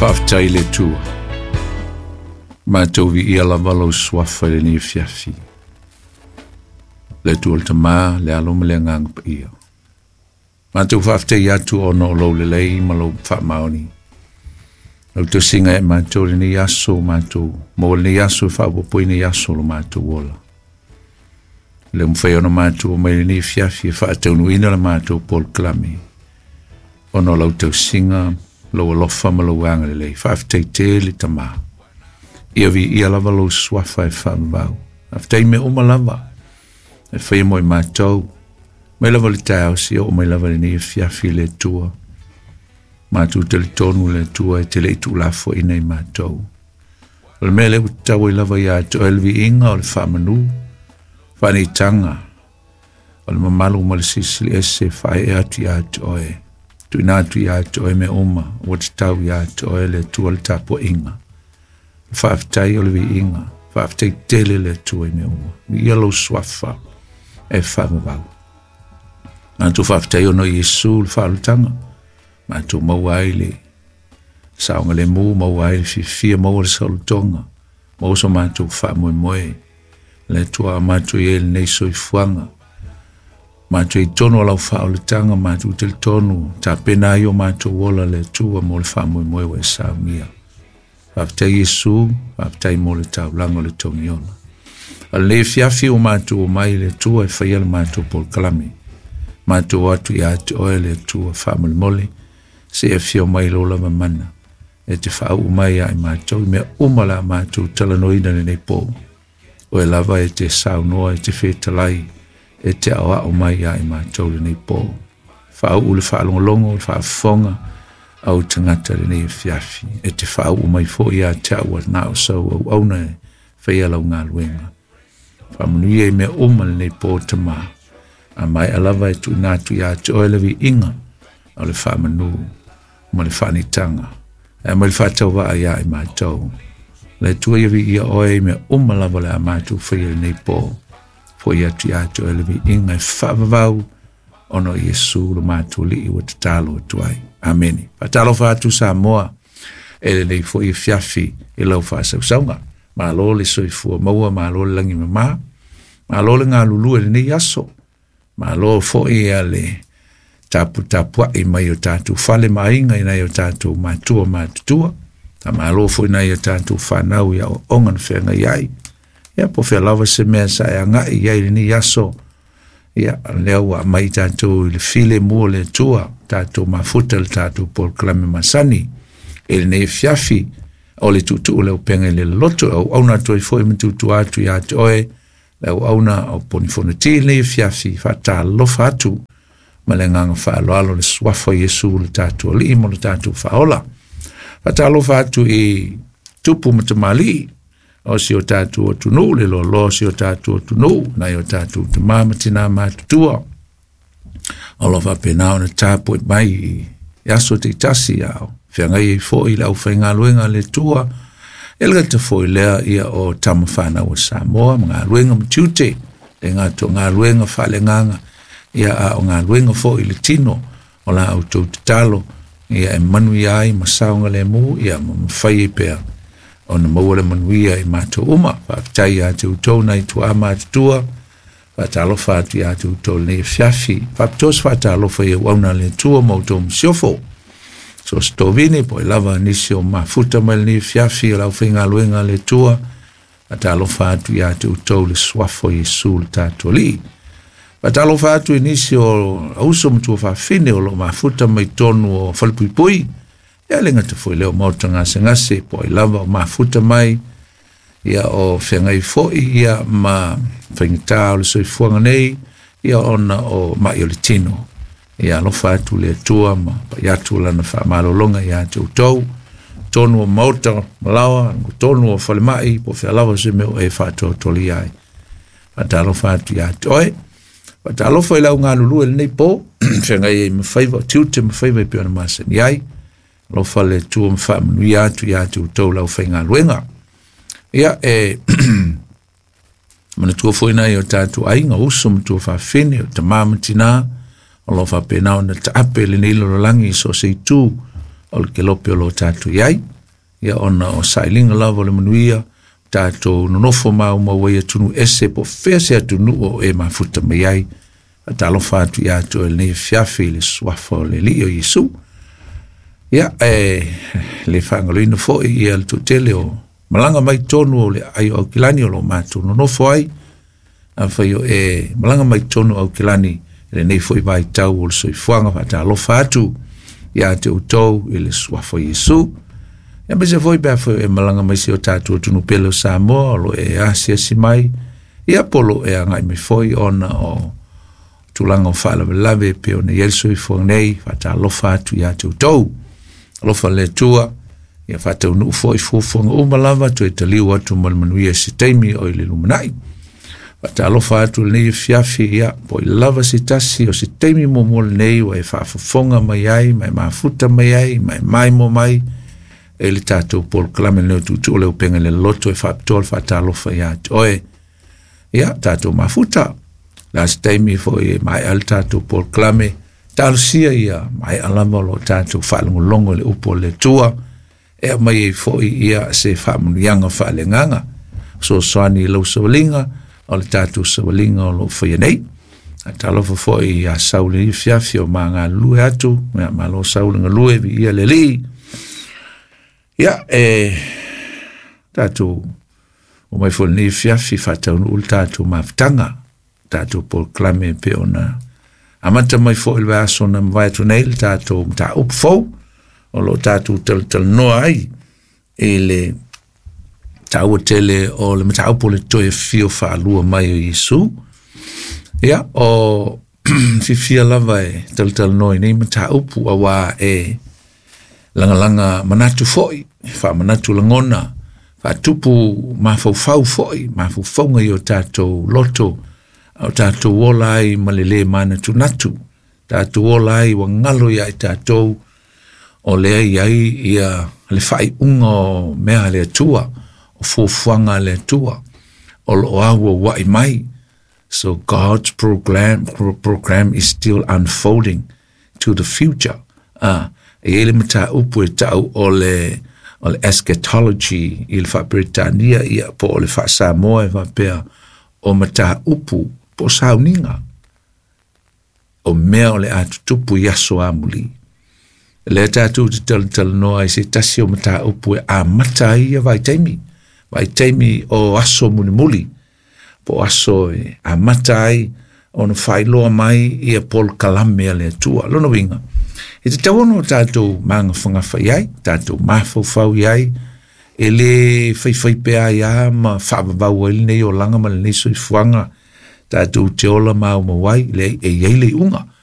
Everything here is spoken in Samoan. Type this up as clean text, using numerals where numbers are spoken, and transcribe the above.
Faafetai i le Atua. Matou viia lava lou suafa i lenei afiafi. Le Atua le Tama, le Alo ma le Agaga Paia. Matou faafetai atu ona o lou lelei ma lou faamaoni. Lau tausiga e matou lenei aso, matou maua lenei aso e faaopoopoina i aso o lo matou ola. Le mafai ona matou mai lenei afiafi e faataunuuina le matou polokalame ona o lau tausiga, lou alofa ma lou agalelei. Faafetai tele Tama. Ia viia lava lou suafa e faavavau. Faafetai mea uma lava e faia mo i matou. Mai lava le taeao seia oo mai lava lenei afiafi le Atua. Matou talitonu le Atua e te le i tuulafoaiina i matou. O le mea lea ua tatau ai lava ia te oe le viiga o le faamanu, faaneitaga, o le mamalu ma le silisili ese faaee atu ia te oe. Tuuina atu ia te oe mea uma ua tatau ia te oe le Atua le tapuaiga. Faafetai o le viiga, faafetai tele le Atua i mea uma. Viia lou suafa e faavavau. Matou faafetai ona o Iesu le faaolataga. Matou maua ai le saogalemu, maua ai le fiafia, maua le saolotoga, maua so matou faamoemoe. Le Atua a matou i ai lenei soifuaga. Matou i totonu o lau faaolataga, matou talitonu, tapena ai o matou ola le Atua mo le faamoemoe ua e saunia. Faafetai Iesu, faafetai mo le taulaga o le togiola. O lenei afiafi ua matou omai le Atua e faia le matou polokalame. Matou atu ia te oe le Atua faamolemole, se i afio mai lou lava mana e te faauu mai ia i matou i mea uma la matou talanoaina lenei po. Oe lava e te saunoa, e te fetalai, e te aoao mai ia i matou lenei po. Faauu le faalogologo, le faafofoga au tagata lenei afiafi. E te faauu mai foi ia te au na o sau auauna e faia lau galuega. Faamanuia i mea uma lenei po Tama. A maea lava e tuuina atu ia te oe le viiga o le faamanu ma le faanitaga. E mai le faatauvaa ia i matou. Le Atua ia viia oe i mea uma lava le a matou faia lenei po. Foi atu ia te oe le viiga e faavavau ona o Iesu lo matou Alii ua tatalo atu ai. Amene. Faatalofa atu Samoa e lenei foi afiafi i lau faasausauga. Malo le soifua maua, malo le lagi mama, malo le galulue i lenei aso, malo foi a le taputapuai mai o tatou fale ma aiga i nai o tatou matua matutua, malo foi nai o tatou fanau i aoaoga na feagai ai. Ia po o fea lava se mea sa e agai i ai lenei aso, ia lea ua aumai tatou i le filemu o le Atua, tatou mafuta le tatou polokalame masani i lenei afiafi o le tuutuu le upega i le loloto, e auauna atu ai foi ma tuutua atu ia te oe le auauna o Poni Fonoti i lenei afiafi. Faatalofa atu ma le agaga faaaloalo le suafa o Iesu le tatou Alii ma le tatou Faaola. Faatalofa atu i tupu ma tamalii o si o tatou atunuu, le loaloa o si o tatou atunuu, nai o tatou tama ma tina matutua o lo o faapena ona tapuai mai i aso taitasi a o feagai ai foi le aufaigaluega a le Atua. E le gata foi lea ia o tama fanau a Samoa ma galuega ma tiute, le gata o galuega faaleagaga, ia a o galuega foi i le tino o la outou tatalo, ia e manuia ai ma saogalemu, ia ma mafai ai pea ona maua le manuia i matou uma. Faafetai ia te outou nai tuaa matutua, faatalofa atu ia te outou lenei afiafi. Faapitoa se faatalofa i auauna a le Atua ma outou masiofo. So se tovine po i lava nisi o mafuta mai lenei afiafi o le aufaigaluega a le Atua, faatalofa atu ia te outou le suafa o Iesu le tatou Alii. Faatalofa atu i nisi o auso ma tuafafine o lo o mafuta mai totonu o falepuipui, ia le gata foi lea o maota gasegase po ai lava o mafuta mai, ia o feagai foi ia ma faigata o le soifuaga nei, ia ona o mai o le tino. Ia alofa atu le Atua ma pai atu lana faamalologa ia te outou, tonu o maota malaoa, tonu o falemai, po o fea lava se mea o e faatoatolia ai. Faatalofa atu ia te oe. Faatalofa i lau galulue lenei po, feagai ai ma faiva, tiute ma faiva e pei ona masani ai. Alofa le Atua ma faamanuia atu ia te outou lau faigaluega. Ia e manatua foi nai o tatou aiga, uso ma tuafafine, o tama ma tina, o lo o faapena ona taape lenei lalolagi i so o se itu O le kelope o lo tatou i ai, ia ona o sailiga lava o le manuia tatou nonofo maumau ai atunuu ese po o fea se atunuu o e mafuta mai ai. Faatalofa atu ia te oe i lenei afiafi i le suafa o le Alii o Iesu. Ia, e le faagaloina foi ia le toatele o malaga mai tonu o le ai o Aukilani o lo matou nonofo ai. Afai o e malaga mai tonu o Aukilani i lenei foi vaitau o le soifuaga, faatalofa atu ia te outou i le suafa o Iesu. Ia aemaise foi pe afai e malaga mai si o tatou atunuu pele o Samoa o lo e asiasi mai, ia po o lo e agai mai foi ona o tulaga o faalavelave pe ona i ai le soifuaga nei, faatalofa atu ia te outou. Alofa le Atua, ia faataunuu foi fuafuaga uma lava, toe taliu atu ma le manuia se taimi o i le lumanai. Faatalofa atu i lenei afiafi, ia, po i lava se tasi o se taimi muamua lenei ua e faafofoga mai ai, ma e mafuta mai ai, ma e maimoa mai e le tatou polokalame lenei o Tuutuu le Upega i le Loto, e faapitoa le faatalofa ia te oe. Ia, tatou mafuta. La se taimi foi e maea le tatou polokalame, talosia ia maea lava o lo tatou faalogologo i le upu o le Atua, e aumai ai foi ia se faamanuiaga faaleagaga, fesoasoani i lau savaliga, o le tatou savaliga o lo o faia nei. Talofa foi ia Sauli i afiafi o magalulue atu, ia malo Sauli galue, viia le Alii. Ia, e tatou o mai foi lenei afiafi faataunuu le tatou mafutaga, tatou polokalame pe ona amata mai foi le vaiaso na mavae atu nei le tatou mataupu fou o lo o tatou talatalanoa ai i le taua tele o le mataupu o le toe afio faalua mai o Iesu. Ia, o fiafia lava e talatalanoa i nei mataupu auā e lagalaga manatu foi, faamanatu lagona, faatupu mafaufau foi, mafaufauga i o tatou loto, a o tatou ola ai ma le lē manatunatu, tatou ola ai ua galo ia i tatou o lea e i ai ia le faaiuga o mea a le Atua, o fuafuaga a le Atua, o lo o auauai mai. So God's program is still unfolding to the future. Ah, e i ai le mataupu e tau o le eschatology i le faa-Peretania, ia po o le faa-Samoa e faapea o mataupu po o sauniga o mea o le a tutupu i aso amuli. Lea tatou te talatalanoa ai se tasi o mataupu e amata ai ia vaitaimi, vaitaimi o aso mulimuli, po o aso e amata ai ona faailoa mai ia polokalame a le Atua. Lona uiga, e tatau ona o tatou magafagafa i ai, tatou mafaufau i ai, e le faifai pea ai a ma faavavau ai lenei olaga ma lenei soifuaga tatou te ola maumau ai, leai, e i ai le iuga.